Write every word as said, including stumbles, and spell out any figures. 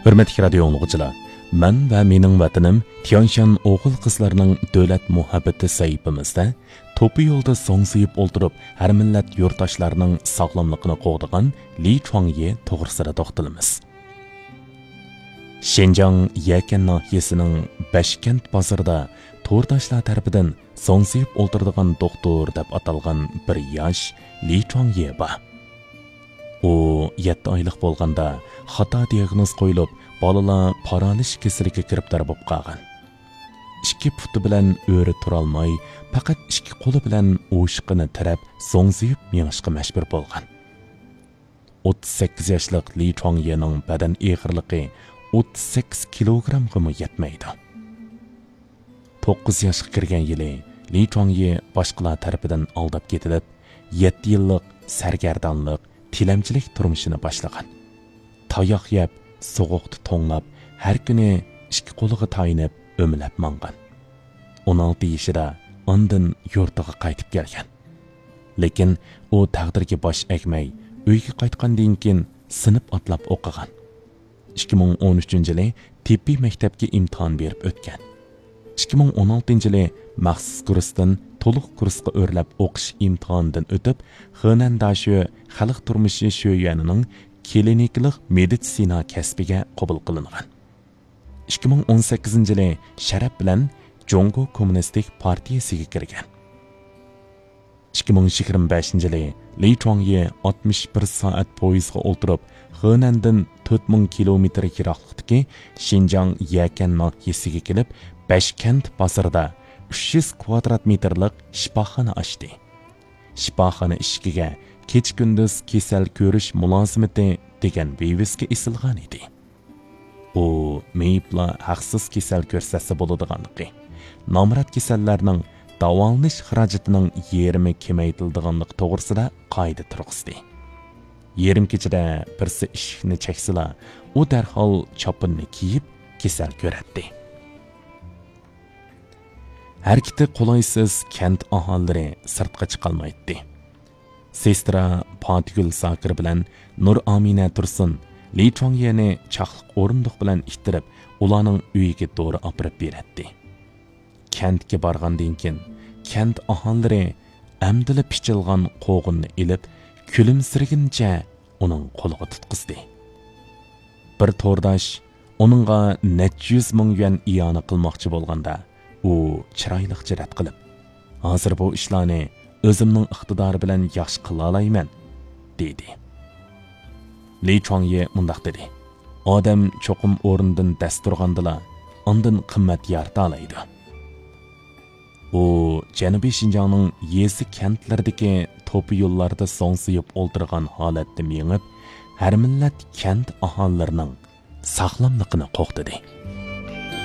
ھۆرمەتلىك رادىيو ئاڭلىغۇچىلار، مەن ۋە مېنىڭ ۋەتىنىم تيەنشان ئوغۇل-قىزلارنىڭ دۆلەت مۇھەببىتى سەھىپىمىزدە توپا يولدا زوڭزىيىپ ئولتۇرۇپ، ھەر مىللەت يۇرتداشلارنىڭ ساغلاملىقىنى قوغدىغان لى چۇاڭيې توغرىسىدا توختىلىمىز. شىنجاڭ يەكەن ناھىيەسىنىڭ بەشكەنت بازىرىدا تورداشلار تەرىپىدىن زوڭزىيىپ ئولتۇرىدىغان دوختۇر دەپ ئاتالغان بىر ياش لى چۇاڭيې بار. ئۇ يەتتە ئايلىق بولغاندا خاتا دىياگنوز قويۇلۇپ، بالىلار پارالىچ كېسىلىگە گىرىپتار بولۇپ قالغان. ئىككى پۇتى بىلەن ئۆرە تۇرالماي، پەقەت ئىككى قولى بىلەن ئوشۇقىنى تىرەپ، زوڭزىيىپ مېڭىشقا مەجبۇر بولغان. ئوتتۇز سەككىز ياشلىق لى چۇاڭيېنىڭ بەدەن ئېغىرلىقى ئوتتۇز سەككىز كىلوگرامغىمۇ يەتمەيدۇ. توققۇز ياشقا كىرگەن يىلى لى چۇاڭيې باشقىلار تەرىپىدىن ئالداپ كېتىلىپ، يەتتە يىللىق سەرگەردانلىق، تىلەمچىلىك تۇرمۇشىنى باشلىغان. تاياق يەپ، سوغۇقتا توڭلاپ، ھەر كۈنى ئىككى قولىغا تايىنىپ ئۆمىلەپ ماڭغان. ئون ئالتە يېشىدا ئاندىن يۇرتىغا قايتىپ كەلگەن. لېكىن ئۇ تەقدىرگە باش ئەگمەي، ئۆيگە قايتقاندىن كېيىن سىنىپ ئاتلاپ ئوقۇغان. ئىككى مىڭ ئون ئۈچىنچى يىلى تېببىي مەكتەپكە ئىمتىھان بېرىپ ئۆتكەن. ئىككى مىڭ ئون ئالتىنچى يىلى مەخسۇس كۇرستىن تولۇق كۇرسقا ئۆرلەپ ئوقۇش ئىمتىھانىدىن ئۆتۈپ، خېنەن داشۆ خەلق تۇرمۇشى شۆيۈەنىنىڭ كلىنىكىلىق مېدىتسىنا كەسپىگە قوبۇل قىلىنغان. ئىككى مىڭ ئون سەككىزىنچى يىلى شەرەپ بىلەن جۇڭگو كوممۇنىستىك پارتىيىسىگە كىرگەن. ئىككى مىڭ يىگىرمە بەشىنچى يىلى لى چۇاڭيې ئاتمىش بىر سائەت پويىزغا ئولتۇرۇپ، خېنەندىن تۆت مىڭ كىلومېتىر يىراقلىقتىكى شىنجاڭ يەكەن ناھىيەسىگە كېلىپ، بەشكەنت بازىرىدا ئۈچ يۈز كۋادرات مېتىرلىق شىپاخانا ئاچتى. شىپاخانا ئىشىكىگە «كېچە-كۈندۈز كېسەل كۆرۈش مۇلازىمىتى» دېگەن ۋىۋىسكا ئېسىلغان ئىدى. ئۇ مېيىپلار ھەقسىز كېسەل كۆرسەتسە بولىدىغانلىقى، نامرات كېسەللەرنىڭ داۋالىنىش خىراجىتىنىڭ يېرىمى كېمەيتىلىدىغانلىقى توغرىسىدا قائىدە تۇرغۇزدى. يېرىم كېچىدە بىرسى ئىشىكنى چەكسىلا، ئۇ دەرھال چاپىنىنى كىيىپ، كېسەل كۆرەتتى. ھەرىكىتى قولايسىز كەنت ئاھالىلىرى سىرتقا چىقالمايتتى. سېسترا پاتىگۈل زاكىر بىلەن نۇر ئامىنە تۇرسۇن لى چۇاڭيېنى چاقلىق ئورۇندۇق بىلەن ئىتتىرىپ، ئۇلارنىڭ ئۆيىگە دورا ئاپىرىپ بېرەتتى. كەنتكە بارغاندىن كېيىن، كەنت ئاھالىلىرى ئەمدىلا پىچىلغان قوغۇننى ئېلىپ، كۈلۈمسىرىگىنىچە ئۇنىڭ قولىغا تۇتقۇزدى. بىر تورداش ئۇنىڭغا نەچچە يۈز مىڭ يۈەن ئىئانە قىلماقچى بولغاندا، ئۇ چىرايلىقچە رەت قىلىپ، «ھازىر بۇ ئىشلارنى ئۆزۈمنىڭ ئىقتىدارى بىلەن ياخشى قىلالايمەن» دېدى. لى چۇاڭيې مۇنداق دېدى: «ئادەم چوقۇم ئورنىدىن دەس تۇرغاندىلا، ئاندىن قىممەت يارىتالايدۇ.» ئۇ جەنۇبىي شىنجاڭنىڭ يېزا كەنتلىرىدىكى توپا يوللاردا زوڭزىيىپ ئولتۇرغان ھالەتتە مېڭىپ، ھەر مىللەت كەنت ئاھالىلىرىنىڭ ساغلاملىقىنى قوغدىدى.